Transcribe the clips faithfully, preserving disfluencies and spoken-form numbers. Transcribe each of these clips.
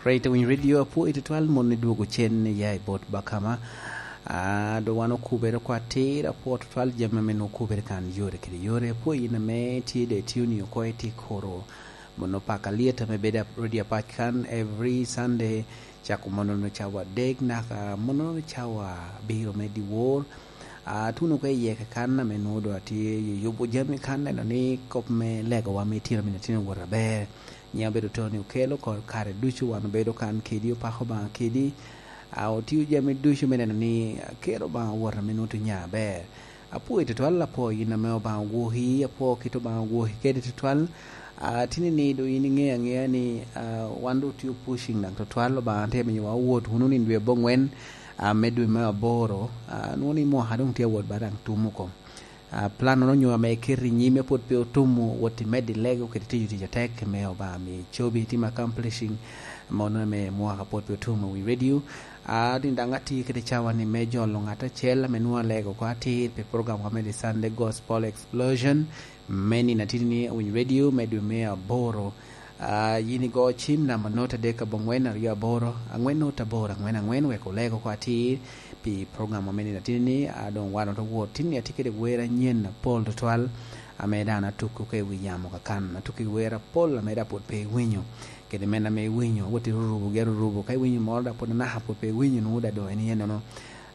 Right, Winy Radio, apwoyi tutwal mon idwogo cen ya i bot Bakama. Ah, do wan okubere kwa atir, apwo tutwal jami ame nwoŋo okubere kan yore kede yore. Apwoyi in ame tye de tuni oko i ti koro. Mono paka liet ame bedo ap-, radio apac kan every Sunday, cako mono no cawa adek naka mono no cawa abiro me dyewor. Ah, tuno ka iye ka kan ame nwoŋo do atye yubo jami kan, neno ni kop me legowa me itino ame itino wot aber. Nyiŋ abedo Tony Okello, ko-, kare ducu wan obedo kan kedi, opako Obaŋa kedi. Ah, otio jami ducu me neno ni, ah, kero Obaŋa wot ame nwoŋo tye nya aber. Apwoyi tutwal, apwoyo yin ame Obaŋa ogwoki, apwoyo kit Obaŋa ogwoki kede tutwal. Ah, tini ni do yin iŋeo aŋea ni, ah, wan do otio pushing daŋ tutwal, Obaŋa tye miyowa wot wunu nino dwe abongwen, ah, me dwe me aboro. Ah, nwoŋo ni mwaka doŋ tye awot ba daŋ tum oko. Ah, plan-nono onyo ame iketo i nyime pwod pe otum wot i medo i lego kede tiyo tic atek me Obaŋa mi cobi itim accomplishing, mono ame mwaka pwod pe otum i wi radio. Ah, ni daŋ atye kede cawa ni me jolo ŋat acel ame nwoŋo alego oko atir pi program wa me The Sunday Gospel Explosion me nino atidi ni Winy Radio me dwe me aboro. Ah, yin igo cim namba note adek aboŋwen aryo aboro, aŋwen note aboro aŋwen aŋwen, wek oleg oko atir pi program ame nino atidi ni, ah, doŋ wan oto wot. Tin ni atye kede wer anyen apol tutwal, ame daŋ atukki oko i wi yamo kakan. Atukki wer apol ame daŋ pwod pe iwinyo. Kede men ame iwinyo, wot irurubo gi arurubo. Ka iwinyo moro daŋ pwod anaka pwod pe iwinyo, nwoŋo daŋ doŋ en iye nono.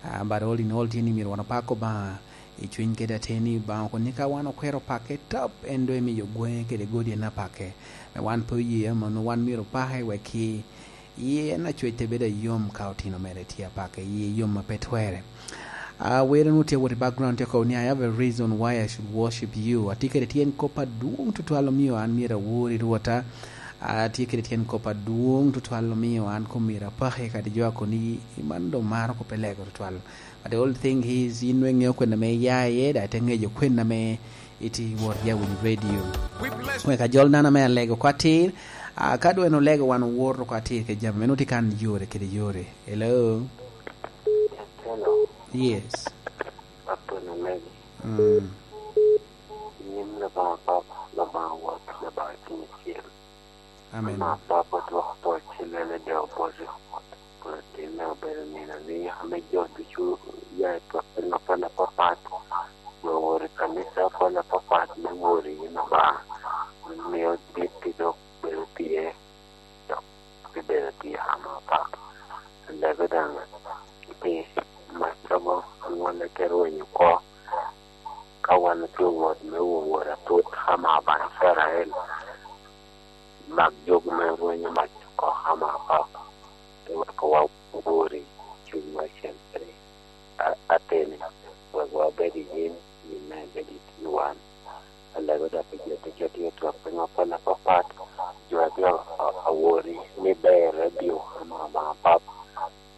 Ah, but all in all, tye ni myero wan opak Obaŋa i cwiny kede ateni. Obaŋa okoni ka wan okwero pake top, en doŋ emiyo gweŋe kede godi en apake. Me wan pe oye mano, wan myero opake wek ki iye en acwec te bedo ayom ka otino mere tye apake, iye yom a pe twere. Ah, were nu tye wot i background tye kobo ni, "I have a reason why I should worship you." Atye kede tyen kop adwoŋ tutwal omio an myero awori Rwota. Atye kede tyen kop adwoŋ tutwal omio an kom myero apaki kadi jo akoni, "Man doŋ maro kop elego tutwal." But the only thing is, yin nwe iŋeo kwena me iya iye, da ite ŋejo kwena me iti wot ya Winy Radio. Wek ajol dano ame alego oko atir, ah, ka dwe en olego wan owor oko atir ke jami meno tye kan yore kede yore. Hello? Hello. Yes. Apwony omego. Mm. Nyim Labaŋa Papa, Labaŋa Wot, Labaŋa Cuny Acil. Amen. Ama Papa dwoko pwod ci lele de obote. Pwod tin me obedo nino ni ame jo ducu ya i twak piny apol apapat, jo woro i kanica apol apapat me woro i yin Obaŋa, mio dit i dok bedo tye, dok pi bedo tye ama Papa. Lego daŋ pi maccago anwolle te rwenyo oko, ka wan otye wot me woworo atut ama Obaŋa Icrael. Mak jogi me rwenyo mac oko ama Papa, te wek wa wori cunywa acel kede a-, ateni, wek wabed i yin, yin me bed i wan. Alego dok i jo ducu a tye otwak piny apol apapat, jo a tye a-, a-, awori ni ber radio ama Obaŋa Papa,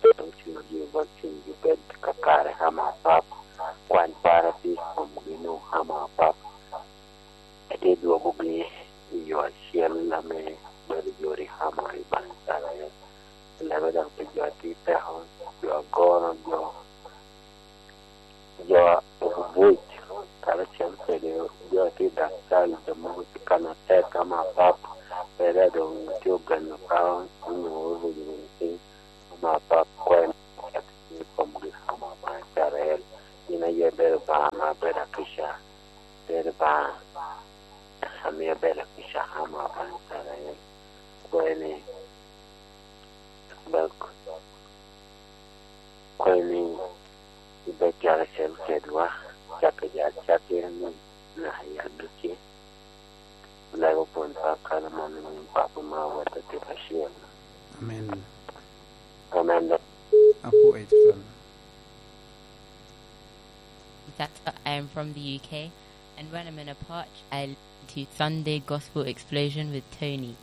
dok cunygi bot cunygi bed kakare ama Papa, kwany para tye i komgi nu ama Papa. Atye dwogogi i yo acel ame bedo yot i ama i Baŋ Icrael. Lebe dok pi jo a tye i peko, jo agoro, jo, jo obuc, karacel kede jo a tye i daktal, jo mogo tye kan atek ama Papa, pe daŋ doŋ tye ogeno ka onyo oruyo wunu piny ama Papa, kwany i komgi ama Baŋ Icrael. Yin aye ibedo Obaŋa ame abedo akica. Bedo Obaŋa ame abedo akica ama Obaŋa Icrael. Kwene, bak, kwene, ibed karacel kedwa, cakki jo acakki ni naka i agikki. Lego pwony pa kano mano ni Papa ma wot atit acel. Amen. Amen. Apwoyo tutwal. Tata, I am from the U K, and when I'm in a parch, I listen to Sunday Gospel Explosion with Tony.